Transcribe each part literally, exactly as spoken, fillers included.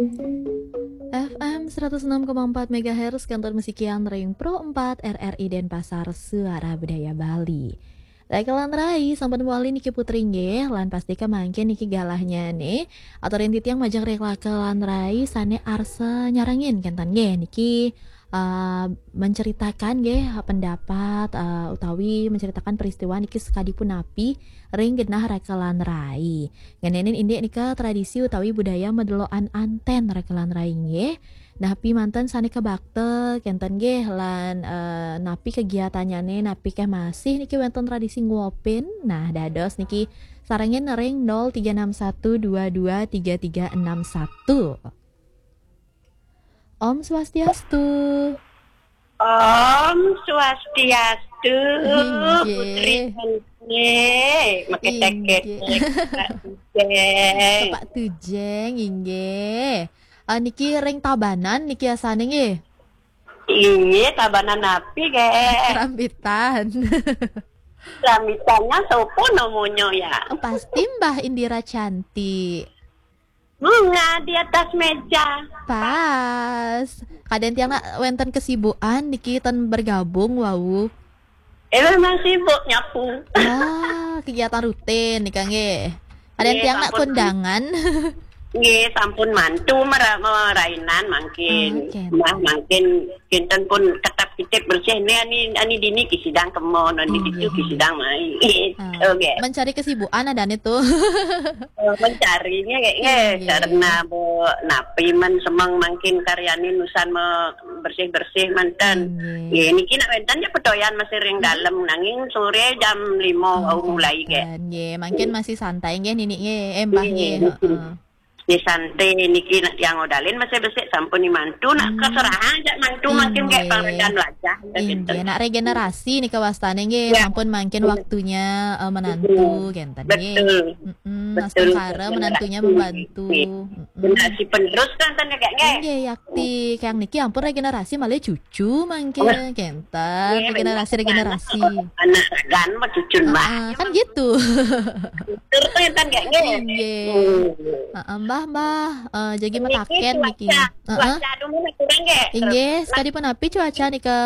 F M seratus enam koma empat megahertz, Kantor Musikian Ring Pro empat R R I Denpasar, Suara Budaya Bali. Raka lan rai, sampun wali niki Putri nggih, lan pasti kemangkin niki galahnya nih. Aturin titiang majeng ring raka lan rai sane arsa nyarengin kenten nggih niki, eh, menceritakan nggih pendapat, eh, utawi menceritakan peristiwa niki sekadi punapi ring genah raka lan rai. Ngenenin indik nika tradisi utawi budaya medeloan anten raka lan rai nggih. Napi manten sane kabakta kenten nggih lan, eh, napi kegiatannyane, napi keh masih niki wenten tradisi nguopin. Nah, dados niki sarengin ring nol tiga enam satu dua dua tiga tiga enam satu. Om Swastiastu. Om Swastiastu, Inggih. Putri Inggih. Make Inggih. Teket-teket, Pak Tujeng. Pak Tujeng, inggih. Ah, niki ring Tabanan niki asane nggih? Inggih, Tabanan napi, ge? Rambitan. Rambitannya sopo nomonyo ya? Pasti Mbah Indira Cantik. Bunga di atas meja. Pas. Kadang tiang nak wenten kesibukan niki ten bergabung wau. Eh, memang sibuk nyapu. Ah, kegiatan rutin nika nggih. Kadang Nggih, tiang nak sampun. Kondangan. Nggih, sampun mantu mera-, merainan mangkin. Ah, oke. Nah, mangkin kinten pun ketap kitip bersih ni ani, ani dini kisidang kemon, ani Oh, ditu iya. Kisidang mai. Ah, Oke. Mencari kesibukan ada nih tuh. Eh, mencarinya kayak Iya, eh, iya, karena iya. Bu napi men semeng mangkin karyani nusan me-, bersih-bersih manten. Iya. Nggih, niki nak wenten ya pedoyan masih ring Hmm. Dalem nanging sore jam lima Oh, wau mulai kayak. Wenten. Nggih, mangkin masih santai nggih nini nggih, eh, Mbah Nggih, nggih, nggih. Heeh. Nggih, santai niki nak yang odalin masih besik sampun ni mantu nak Hmm. Keserahan jak mantu makin kayak Inggih. Pangregan wajah. Inggih, nak regenerasi nih kewastane nggih, Ya. Sampun mangkin Iya. Waktunya, eh, menantu Betul. Kenten nggih. Betul. Mm-mm, Betul, astungkara regenerasi. Menantunya membantu. Nggih. Mm-mm. Generasi penerus kan, kan, Kak, nggih? Nggih, yakti. Kang niki ampun regenerasi malih cucu mangke Wah. Kenten. Nggih, regenerasi, bener. Regenerasi. Anak ragan mah cucun, Mbah. Ah, kan gitu. Betul, kan, Kak, nggih? Nggih. Hmm. Heeh, Mbah, Mbah, eh, jagi Niki mataken cuaca, niki. Heeh. Cuaca dulu nih, kurang, nggih? Inggih, sekadi punapi cuaca nika?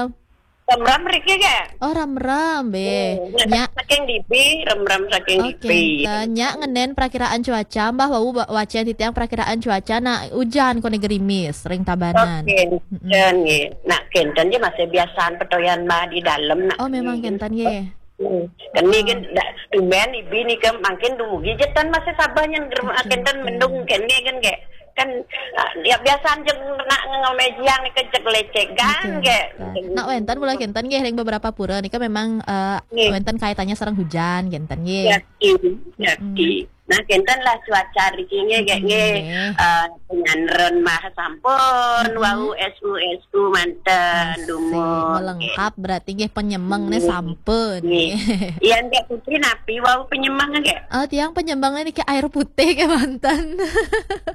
Remram riki, nggih? Oh, remram, be. Hmm, Nya. Saking dibi, remram saking Oh, dibi. Kenten. Nya ngenen perakiraan cuaca, Mbah, wau ba-, wacen titiang perakiraan cuaca, nak ujan kone gerimis, ring Tabanan. Oke, Mm-mm. Kenten, nggih. Nak kenten nggih masih biasaan petoyan, Mbah, di dalem, nak. Oh, memang kenten, nggih. Hmm. Keni kan dak tumben ibi ni ke mangkin dumugi jetan masih sabah yang ger-, Oke, kenten oke. Mendung keni kan, kayak kan, ah, ya biasa aja nak ngemejiang ni kejek lecegan Oke, kayak. Kenten. Nak wenten mula kenten nggih ring beberapa pura nika memang, eh, Nggih. Wenten kaitannya sareng hujan kenten nggih. Yakti, yakti. Mm-mm. Nah, kenten lah cuaca riki nggih, nggih, nggih. Nggih. Eh, penyanren mah sampun, Mm-mm. Wau S U S U manten, Asik, dumun, melengkap nggih. Berarti nggih penyemeng nih Nggih. Sampun. Nggih. Nggih. Iya, nggih, Putri napi wau penyemeng nggih? Oh, tiang penyemeng niki air putih ke manten.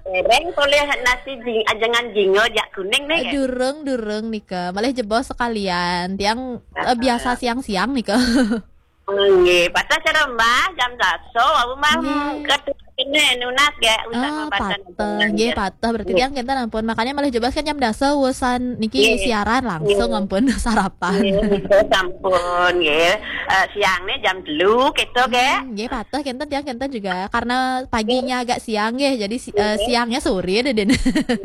Dereng polih nasi jing-, ajengan jingo jak kuning nih, nggih? Durung, durung nika. Malih jebos sekalian. Tiang, eh, Ah. Biasa siang-siang nika. Nggih, pateh cara Mbah jam dasa, wau Mbah, Nggih. Hmm, ketu-, kene nunas nggih, usan Ah, mapatan pateh. Nggih, pateh. Berarti tiang kenten ampun. Makanya malih jebos kan jam dasa usan niki Nggih. Siaran langsung Nggih. Ampun sarapan. Nggih, nika sampun, nggih. Eh, siangnya jam telu, gitu, nggih. Hmm, nggih, pateh kenten tiang kenten juga. Karena paginya Nggih. Agak siang, nggih. Jadi si-, eh, Nggih. Siangnya sore deh, Den.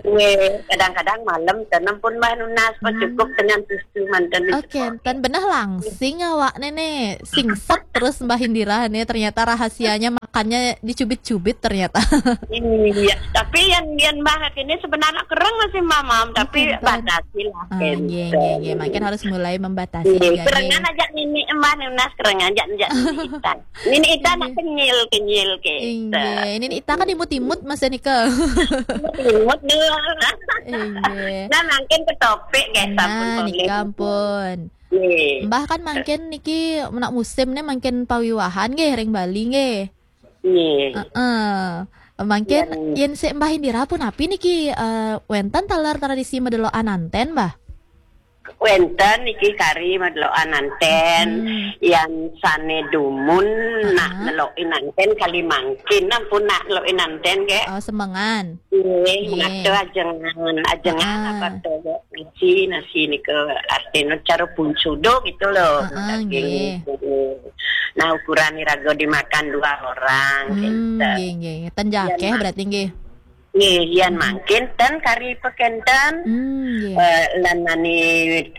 Nggih, kadang-kadang malam, dan ampun Mbah nunas, Pak, Hmm. Cukup dengan susu manten. Oh, kenten beneh langsing awak nene. Singset terus Mbah Indira nih. Ternyata rahasianya makannya dicubit-cubit ternyata. Iya, tapi yang, yang Mbah ini sebenarnya kereng masih mamam, tapi Kenten. Batasi lah, Ah, kenten. Nggih, nggih, nggih. Makin harus mulai membatasi, Nggih, nggih, kerengan nggih. Aja nini Mbah nunas, kerengan aja, aja nini Ita. Nini Ita nak Nggih. Kenyil, kenyil, kenten. Inggih, ini Ita kan imut-imut Mas nika. Imut dulu. Inggih. Nah, mangkin ke topik, nggih, Nah, sampun nika boleh. Ampun. Nggih. Mbah kan mangkin niki nak musim nih mangkin pawiwahan nggih ring Bali nggih. Nggih. Heeh. Mangkin Yang yen sik Mbah Indira punapi niki, eh, wenten taler tradisi medelokan anten, Mbah? Wénten niki kari madelokan anten, hmm, yan sané dumun nak, aha, nelokin anten kali mangkin, ampun nak nelokin anten, nggih. Oh, semengan. Nggih, nggih. Nate ajengan, ajengan, ah, apa to, nasi, nasi nika artinya cara bunsudo gitu loh. Ah, ah, daging nggih. Niku. Nah, ukuran iraga dimakan dua orang, hmm, gitu. Nggih, nggih. Ten akeh berarti nggih. Nggih, yan mangkin ten kari pekénten. Hmm, nggih. Eh, lan ani,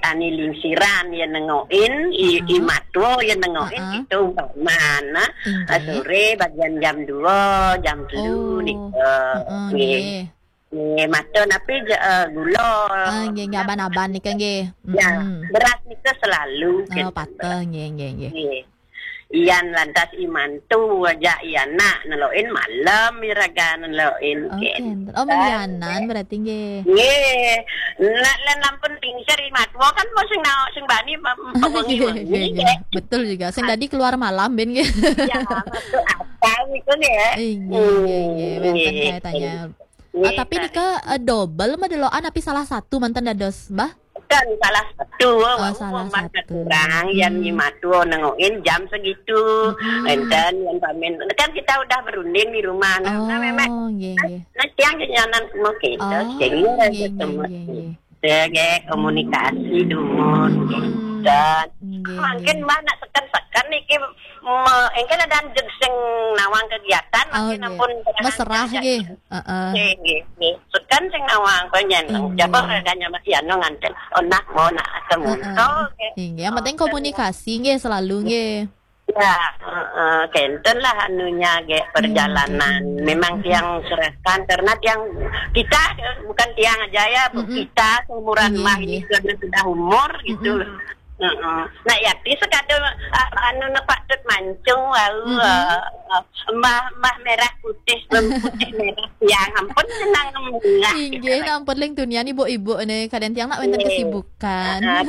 ani lingsiran ya nengokin, i, i matwa ya nengokin, heeh, itu umpamana, nggih, sore bagian jam dua, jam telu, oh, nika. Heeh, nggih. Nggih. Nggih, mata napi je, eh, gula. Ah, nggih, nggih, aban-aban nika nggih. Ya, mm-mm, beras nika selalu, oh, kinten, pateh, beras. Nggih, nggih, nggih. Nggih. Iyan lantas i mantu aja i anak nelokin malem iraga nelokin. Oke, kinten. Oh, malianan berarti nggih. Nggih. Nak lan ampun lingser i matwa kan mau sing naok sing bani pem-, pewengi-wengi, nggih, nggih, nggih. Betul juga. Sing dadi keluar malam ben nggih. Ya, masuk akal niku nggih. Nggih, nggih, nggih. Wénten, nggih, kaitannya. Nggih, ah, tapi kari. Nika, eh, double madelokan tapi salah satu manten dados, Mbah? Kan salah satu, oh, wau salah satu. Kurang, yan, hmm, i matwa nengokin jam segitu. Mm-mm. Enten yan pamin. Kan kita udah berunding di rumah. Nah, oh, memang, nggih, nggih. Nah, tiang kenyanan mau kita, oh, sing nggih, nggih, ketemu. Nggih, nggih. Ya, nggih, komunikasi dumun. Mm-mm. Dan nggih, mangkin nggih. Mbah nak seken-seken niki me-, engke ada jeg sing nawang kegiatan, oh, mangkin nggih. Ampun mesrah nggih. Heeh. Nggih, nggih, nggih. Seken sing nawang panjenengan. Nggih. Jaba adanya Mas Yano nganten. Oh, nak mau nak ketemu. Heeh. Oh, oke. Nggih, yang penting komunikasi nggih selalu nggih. Ya, heeh, kenten lah anunya ge perjalanan. Nggih, nggih. Memang tiang serahkan karena tiang kita bukan tiang aja ya, Bu, mm-mm, kita seumuran, nggih, mah ini nggih. Karena sudah umur gitu. Mm-mm. Heeh. Nah, yakti sekadar, ah, anu ne patut mancung wau, mm-mm, eh, eh, mbah, mbah merah putih, putih merah tiang, ampun senang munggah gitu. Inggih, kan. Ampun ling tunian ibu-ibu ne, kadang tiang nak wenten, nggih, kesibukan. Ah, ah,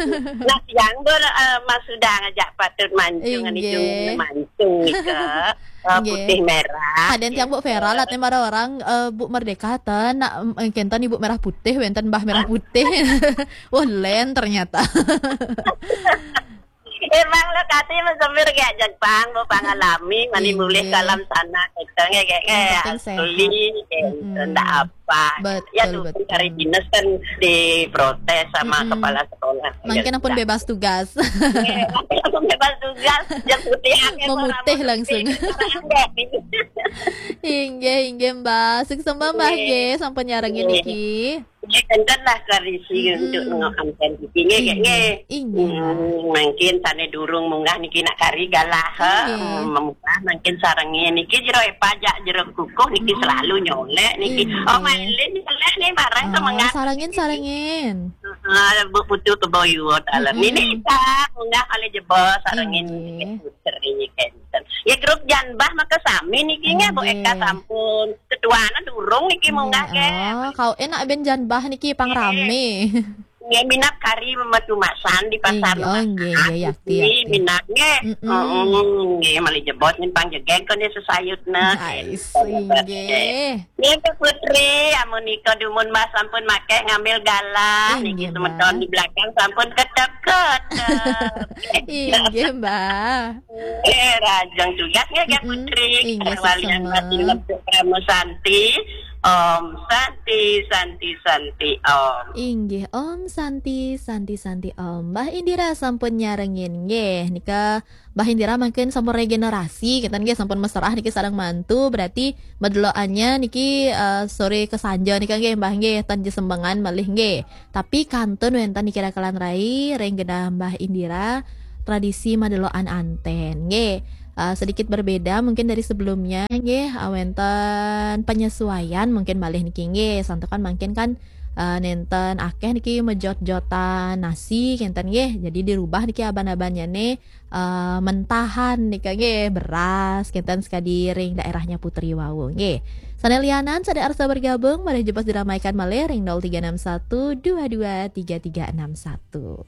nah, tiang tu, eh, mas sudah ngajak patut mancung, inggih, anu mancung ika, eh, inggih, putih merah. Kadang tiang Bu gitu. Vera lah, tem ada orang, eh, Bu Merdeka ten, nak, em, kenten ibu merah putih, wenten mbah merah putih. Wah, len ternyata. Emang lokasi mesembir kayak Jepang, mau pangalami, mani, inggih, mulih kalam sana, gitu, nggih, nggih, nggih, yang penting asli, sehat. Gitu, mm-mm, ndak apa. Betul, ya, tuh, betul. Hari dinas kan diprotes sama, mm-mm, kepala sekolah. Mungkin, ya, ampun sudah. Bebas tugas. Nggih, mungkin ampun bebas tugas, yang putih akeh, memutih orang langsung. Putih, orang nggih. Inggih, inggih, Mbah. Sukses, Mbah, nggih, nggih, sampun nyarengin, nggih, niki. Nggih, enten lah tradisi, hmm, untuk nengok anten niki, nggih, nggih, nggih. Inggih, inggih. Hmm, mungkin sane durung munggah niki nak kari galah, nggih, hmm, munggah mungkin sarengin niki jero epajak jero kukuh niki, hmm, selalu nyolek niki. Inggih. Oh, mailin nyolek nih bareng, oh, semangat. Sarengin, sarengin. Ah, Bu Putu keboyuot alam. Hmm. Nini kita munggah kali jebos sarengin, inggih, niki putri kenten. Ya grup janbah maka sami niki nggih, Bu, inggih, Eka sampun. Ketuane durung niki, nggih, munggah, nggih. Oh, kau enak ben janbah niki pang, nggih, rame. Nggih, minap kari memetumasan di pasar. Inggih, oh, nggih, nggih, yakti, ini yakti. Minap nggih. Mm-mm. Heeh, nggih, mali jebot nih pang jegeg kok nih sesayutna. Ais, nggih. Nggih, Kak Putri, amun nika dumun Mbah sampun makeh ngambil galah, inggih, niki semeton Mbah. Di belakang sampun ketek-ketek. Inggih, Mbah. Eh, rajang tugas nggih, Kak, mm-mm, Putri. Inggih, walian sesama. Batin Lebur Parama Santi. Om Santi, Santi, Santi, Om. Inggih, Om Santi, Santi, Santi, Om. Mbah Indira sampun nyarengin nggih. Nika Mbah Indira mangkin sampun regenerasi, kenten nggih sampun mesrah niki sareng mantu, berarti medelokannya niki, eh, sore kesanja nika nggih, Mbah nggih, tan jesembengan malih nggih. Tapi kantun wenten niki rakelan rai ring genah Mbah Indira tradisi madelokan anten. Nggih, eh, sedikit berbeda mungkin dari sebelumnya nggih, eh, wenten penyesuaian mungkin malih niki nggih. Santukan mangkin kan, eh, nenten akeh niki mejot-jotan nasi kenten nggih. Jadi dirubah niki aban-abannya nih, eh, mentahan nika nggih, beras kenten sekadi ring daerahnya Putri wau nggih. Sane lianan sane arsa bergabung, malih jebos diramaikan malih ring nol tiga enam satu dua dua tiga tiga enam satu.